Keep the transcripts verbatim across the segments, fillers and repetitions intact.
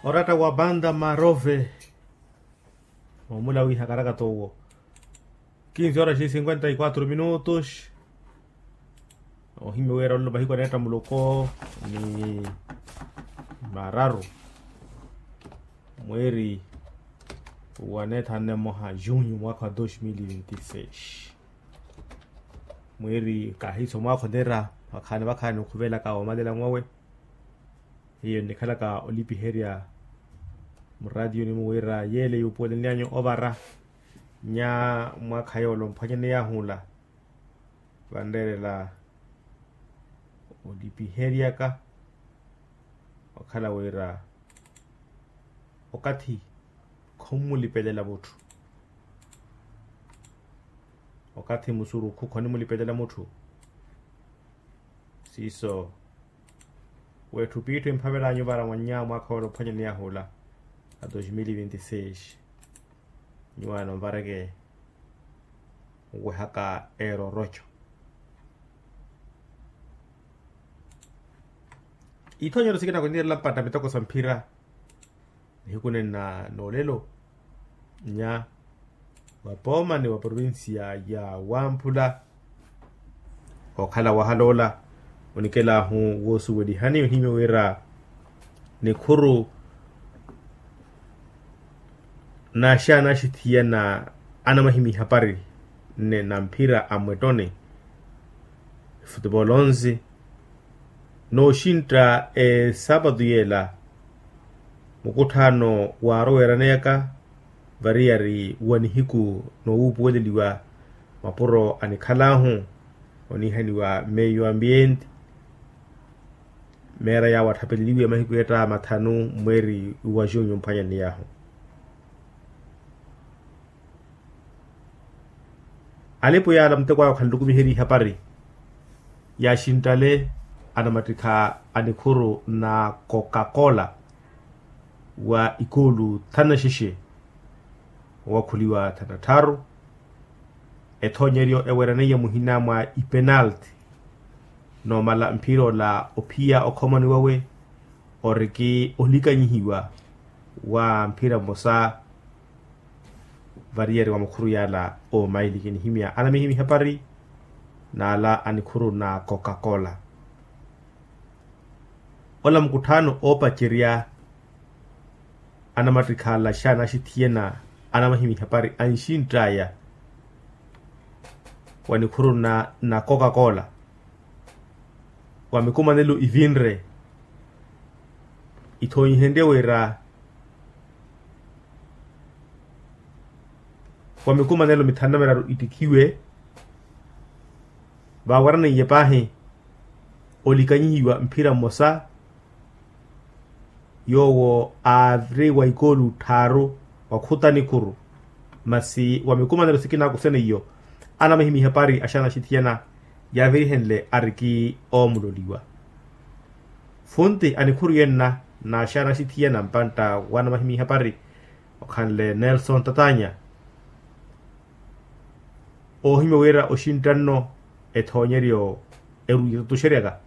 Oratta wa banda marove. Omula wiha karakata owo. Kinsi horas e cinquenta e quatro minutos. Ohimya wira ololo mahiku aneetta muluko ni mararu, mweri wa neetha nne mmoha junho mwaka wa dos mil e vinte e seis. Mweri kahiso mwakha onera vakhaani vakhaani okhuvelaka omalela mwawe. Hiyo nnikhalaka olipiherya muraatiyoni muwira yeele yuupuwelenlyanyu ovara nya mwakha yoole omphwanyani yahula. Vanreerela olipiheryaka okhala wira okathi khommulipelela mutthu. Okathi musurukhu khonimulipelela mutthu. Siiso wetthu piitthu emphavel'anyu vara mwannya mwakha woole ophwanyani yahula a dos mil e vinte e seis. Nyuwaano nvareke nwehaka eroroco. Ithoonyero sikina khwinirela mpatta mitoko sa mphira nihiku nenna noolelo nya vapoomani va provincia ya wamphula. Okhala wahaloola onikelahu woosuwelihani ohimya wira nikhuru naxaana axithiyana anamahimya ihapari nne na mphira a mwettoni efutupolo onsi. Nooxintta esaapatu yeela mukutthaano waaroweeraneyaka variyari wa nihiku noowuupuweleliwa mapuro anikhal'ahu oniihaniwa meio ambiente. Meera yaawo atthapeleliwe mahiku etta mathanu mweeri wa junho mphwanyani yaahu. Alipo yaala muteko aya okhala nlukumiheriye ihapari yaaxinttale anamattikha a nikhuru na coca-cola wa ikoolu thanu na xexe owakhuliwa thanu na tthaaru. Ethoonyeryo eweraneiye muhina mwa ipenalti noomala mphira ola ophiya okhomani wawe oriki olikanyihiwa wa mphira mmosa variyari wa makhuru yaala omaili kinihimya anamihimya ihapari n'ala a nikhuru na coca-cola. Ola mukutthaano oopacerya anamattikha ala xaana axithiyana anamahimya ihapari anxintt'aya wa nikhuru na coca-cola wa mikumanelo ivinre ithoonyihenrye wira wa mikumanelo mithanu na miraru ittikhiwe. Vaaweraneiye paahi olikanyihiwa mphira mmosa yoowo aari wa ikoolu tthaaru wakhuta nikhuru. Masi wa mikumanelo sikina akusene iyo anamahimya ihapari axaana axithiyana yaavirihenle ariki oomuloliwa. Funti a nikhuru yenna n'axaana axithiyana mpantta wa anamahimya ihapari okhanle nelson tatanya. Oohimya wira oxintta nno ethoonyeryo eruuya etutuxeryaka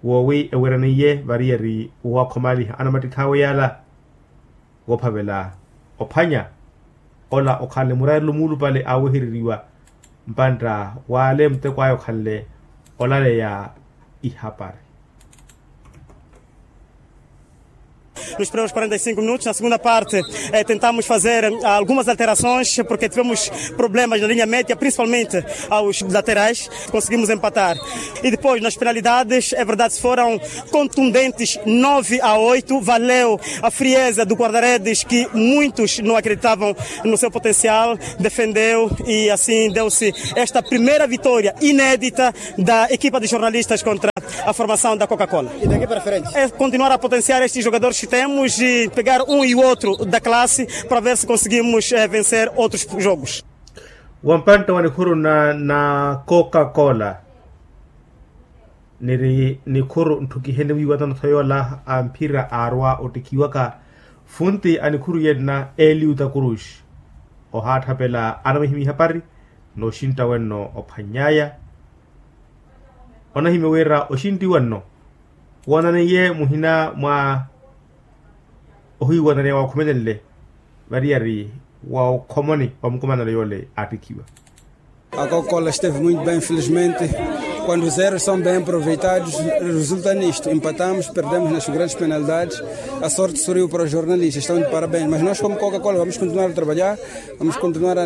woowi eweraneiye variyari woowakhomaliha anamattikhawe yaala woophavela ophwanya ola okhanle muraarelo muulupale aawehereriwa mpantta w'ale muteko aya okhanle olaleya ihapari. Nos primeiros quarenta e cinco minutos, na segunda parte, eh, tentamos fazer, eh, algumas alterações, porque tivemos problemas na linha média, principalmente aos laterais. Conseguimos empatar. E depois, nas penalidades, é verdade, foram contundentes, nove a oito. Valeu a frieza do guarda-redes, que muitos não acreditavam no seu potencial, defendeu e assim deu-se esta primeira vitória inédita da equipa de jornalistas contra a formação da Coca-Cola. E daqui para frente? É continuar a potenciar estes jogadores que temos e pegar um e outro da classe para ver se conseguimos, eh, vencer outros jogos. Wampantta wa nikhuru na, na Coca-Cola niri nikhuru ntthukihenle wiiwatano-tho yoola a mphira aarwa ottikhiwaka. Funti a nikhuru yenna eliuta cruz ohaatthapela anamwihimya ihapari nooxintta wenno ophwanny'aya. Onahimya wira oxintti wenno woonaneiye muhina mwa ohiiwananeya waakhumelenle variyari wa okhomoni wa mukumanano yoole aattikhiwa. A Coca-Cola esteve muito bem, infelizmente, quando os erros são bem aproveitados, resulta nisto. Empatamos, perdemos nas grandes penalidades. A sorte sorriu para os jornalistas, estão de parabéns. Mas nós, como Coca-Cola, vamos continuar a trabalhar, vamos continuar a